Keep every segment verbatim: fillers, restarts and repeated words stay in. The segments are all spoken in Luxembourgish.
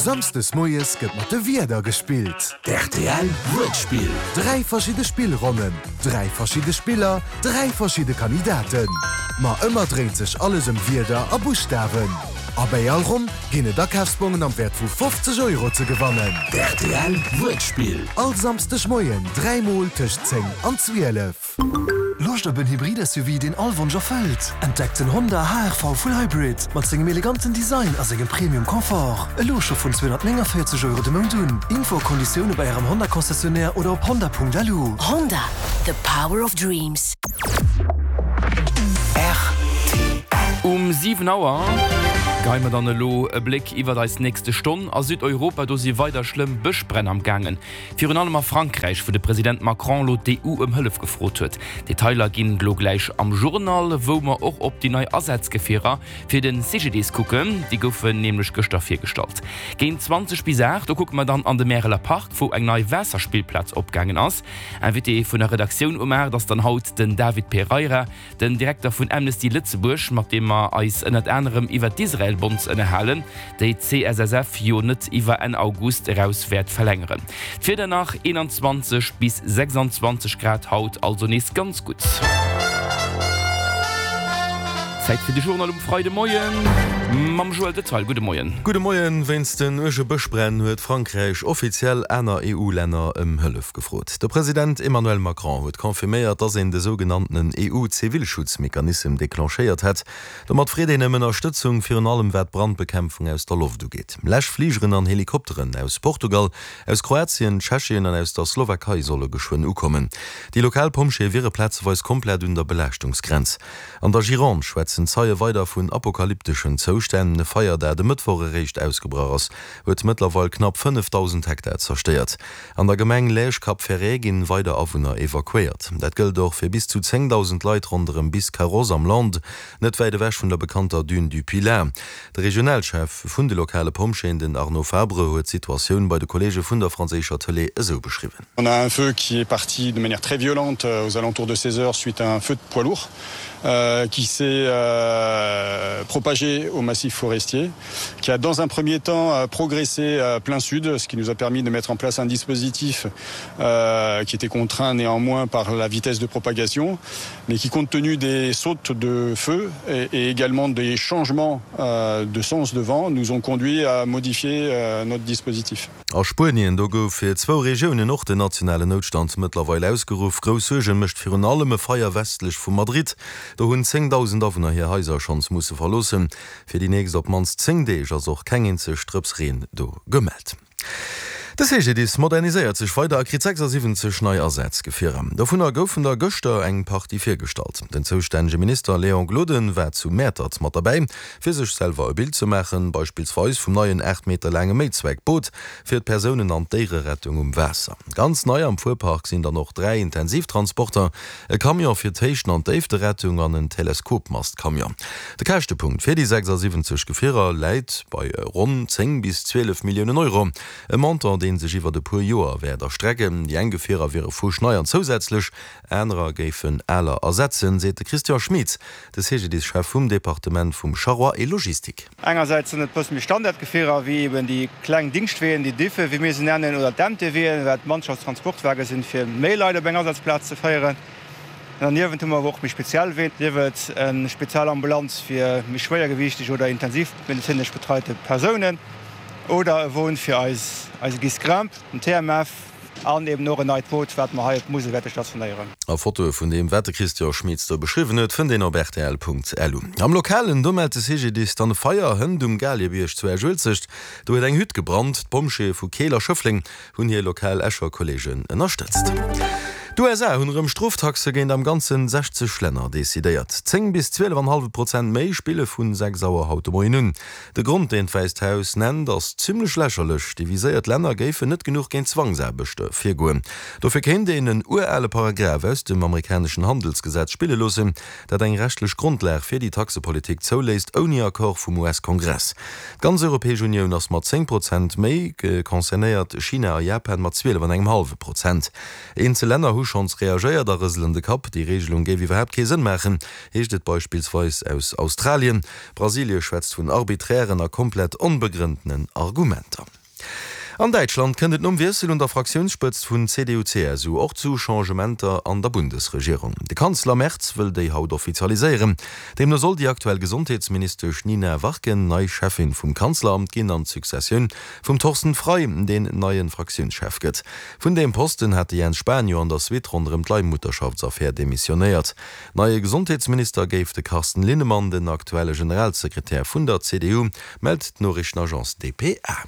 Samsdes moies gëtt mat de Wierder gespillt. D'R T L Wuertspill. Dräi verschidde Spillronnen, dräi verschidde Spiller, dräi verschidde Kandidaten. Ma ëmmer dréint sech alles ëm Wierder a Buschtawen. A bei all Ronn ginn et Akafsbongen am Wäert vu fofzeg Euro ze gewannen. D'R T L Wuertspill. All Samsdeg Moien dräimol tëscht zéng an zwielef. Loscht op en Hybrid-S U V, deen all Wonsch erfëllt? Entdeckt den Honda H R V Full Hybrid mat sengem eleganten Design a sengem Premium Confort. Elo scho vun zweehonnertnénganvéierzeg Euro de Mount un. Info a Konditioune bei ärem Honda Concessionnaire oder op honda Punkt L U. Honda, the power of dreams. Um siwen Auer geheie mer dann elo e Bléck iwwer eis nächste Stonn. A Südeuropa do si weider schlëmm Bëschbränn am gaangen. Virun allem a Frankräich, wou de President Macron lo d'E U ëm Hëllef gefrot huet. Detailer ginn lo gläich am Journal, wou mer och op déi nei Asazgefierer fir de C G D I S kucken. Déi goufen nämlech gëschter virgestallt. Géint zwanzeg bis aacht, do kucke mer dann an de Märeler Park, wou eng nei Waasserspillplaz opgaangen ass. Invité vun der Redaktioun um aacht ass dann haut den David Pereira, den Direkter vun Amnesty Lëtzebuerg, mat deem mer eis ënnert anerem iwwer d'Israel-Bonds ënnerhalen, déi d'C S S F jo net iwwer Enn August eraus wäert verlängeren. D'Wieder nach: eenanzwanzeg bis sechsanzwanzeg Grad haut, also nees ganz gutt. Zäit fir de Journal um Freidemoien mam Joël Detail. Gudde Moien. Gudde Moien. Wéinst den uerge Bëschbränn huet Frankräich offiziell aner E U-Länner ëm Hëllef gefrot. De President Emmanuel Macron huet confirméiert, datt een de sougenannten E U-Zivilschutzmechanismus declenchéiert hätt. Domat freet een ëm Ënnerstëtzung, virun allem wat d'Brandbekämpfung aus der Loft ugeet. Läschfligeren an Helikopteren aus Portugal, aus Kroatien, Tschechien an aus der Slowakei solle geschwënn ukommen. Déi lokal Pompjeeë wiere plazeweis komplett un der Belaaschtungsgrenz. An der Gironde schwätzen Zeie weider vun apokalypteschen Zoustänn. E Feier, dat e Mëttwoch eréischt ausgebrach ass, huet mëttlerweil knapp fënnefdausend Hektar zerstéiert. An der Gemeng Lège-Cap-Ferret ginn weider Awunner evakuéiert. Dat gëllt och fir bis zu zéngdausend Leit ronderëm Biscarrosse am Landes, net wäit ewech vun der bekannter Dune du Pilat. De Regionalchef vun de lokale Pompjeeën, den Arnaud Fabre, huet d'Situatioun bei de Kolleege vun der franséischer Tëlee esou beschriwwen. On a un feu qui est parti de manière très violente aux alentours de seize heures suite à un feu de poids lourd euh, qui s'est euh, propagé au massif forestier, qui a dans un premier temps euh, progressé euh, plein sud, ce qui nous a permis de mettre en place un dispositif euh, qui était contraint néanmoins par la vitesse de propagation, mais qui, compte tenu des sautes de feu et, et également des changements euh, de sens de vent, nous ont conduit à modifier euh, notre dispositif. A Spuenien do gouf fir zwou Regiounen och den nationalen Noutstand mëttlerweil ausgeruff. Grouss Suerge mécht virun allem e Feier westlech vu Madrid. Do hunn zéngdausend Awunner hir Haiser schonns musse verloossen. Fir déi nächst op d'mannst zéng Deeg ass och keng eenzeg Drëps Reen do gemellt. De C G D I S moderniséiert sech weider a kritt sechsasiwwenzeg nei Asazgefierer. Dovunner goufen der gëschter eng Partie virgestallt. Den zoustännege Minister Léon Gloden war zu Mäertert mat derbäi, fir sech selwer e Bild ze maachen, beispillsweis vum neien aacht Meter laange Méizweckboot fir d'Persounen an d'Déiererettung um Waasser. Ganz nei am Fuerpark sinn dann och dräi Intensivtransporter, e Camion fir d'Héichten an d'Déifterettung an en Teleskopmastcamion. De Käschtepunkt fir déi sechsasiwwenzeg Gefierer läit bei ronn zéng bis zwielef Milliounen Euro. E Montant, dee sech iwwer e puer Joer wäert erstrecken. Déi eng Gefierer wiere fuschnei an zousätzlech anerer géifen aler ersetzen, seet de Christian Schmitz, de C G D I S-Chef vum Departement vum Charroi et Logistik. Engersäits sinn et bësse méi Standardgefierer, wéi eben déi kleng Dingschtween, déi Diffe, wéi mir se nennen, oder d'M T Ween, wat Mannschaftstransportwage sinn, fir méi Leit op eng Asazplaz ze féieren. Derniewent hu mer awer och méi speziell Ween, sief et eng Spezialambulanz fir méi schwéiergewiichteg oder intensivmedezinesch betreite Persounen oder e Won fir eis eise Guy's Grimp, den T M F, an eben och en neit Boot, wat mer hei op Musel wäerte stationéieren. A Fotoe vun deem, wat de Christian Schmitz do beschriwwen huet, fënnt een op R T L Punkt L U. Am Lokalen, do mellt de C G D I S dann e Feier hënt um Galiebierg zu Esch-Uelzecht. Do huet eng Hütt gebrannt. D'Pompjeeë vu Keel a Schëffleng hunn hir lokal Escher Kolleegen ënnerstëtzt. D'U S A hunn erëm Stroftaxe géint am Ganze sechzeg Länner decidéiert. Zéng bis zwielef an e hallwe Prozent méi spille vu sechs Auer haut de Moien un. De Grond, deen d'Wäisst Haus nennt, ass zimmlech lächerlech. Déi viséiert Länner géifen net genuch géint Zwangsaarbechter virgoen. Dofir kéint een en urale Paragraf aus dem amerikaneschen Handelsgesetz spille loossen, dat eng rechtlech Grondlag fir déi Taxepolitik zouléisst, ouni Accord vum U S-Kongress. D'ganz Europäesch Unioun ass mat zéng Prozent méi concernéiert, China a Japan mat zwielef an engem hallwe Prozent. Eenzel Länner hu schonns reagéiert a rëselen de Kapp. Déi Reegelung géif iwwerhaapt kee Sënn maachen, heescht et beispillsweis aus Australien. Brasilie schwätzt vun arbiträren a komplett onbegrënntenen Argumenter. An Däitschland kënnt et nom Wiessel un der Fraktiounsspëtzt vun CDU-CSU och zu Changementer an der Bundesregierung. De Kanzler Merz wëll déi haut offizialiséieren. Deemno soll déi aktuell Gesondheetsministesch Nina Warken nei Cheffin vum Kanzleramt ginn an d'Successioun vum Thorsten Frei deen neie Fraktiounschef gëtt. Vun deem Posten hat de Jens Spahn jo an der Suite ronderëm d'Leihmutterschaftsaffär demissionéiert. Neie Gesondheetsminister géif de Carsten Linnemann, den aktuelle Generalsekretär vun der CDU, mellt d'Noriichtenagence dpa.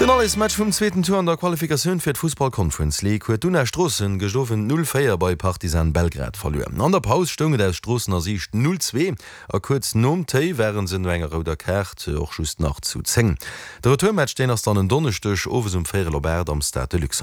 Den Allesmatch vum zweeten Tour an der Qualifikatioun fir d'Fussball Conference League huet d'Una Stroossen gëscht Owend null véier bei Partizan Belgrad verluer. An der Paus stoung et aus Stroossener Siicht null zwee a kuerz nom Téi ware se no enger rouder Kaart och just nach zu zéng. De Retourmatch deen ass dann en Donneschdeg owes um véierel op aacht am Stade de Luxembourg.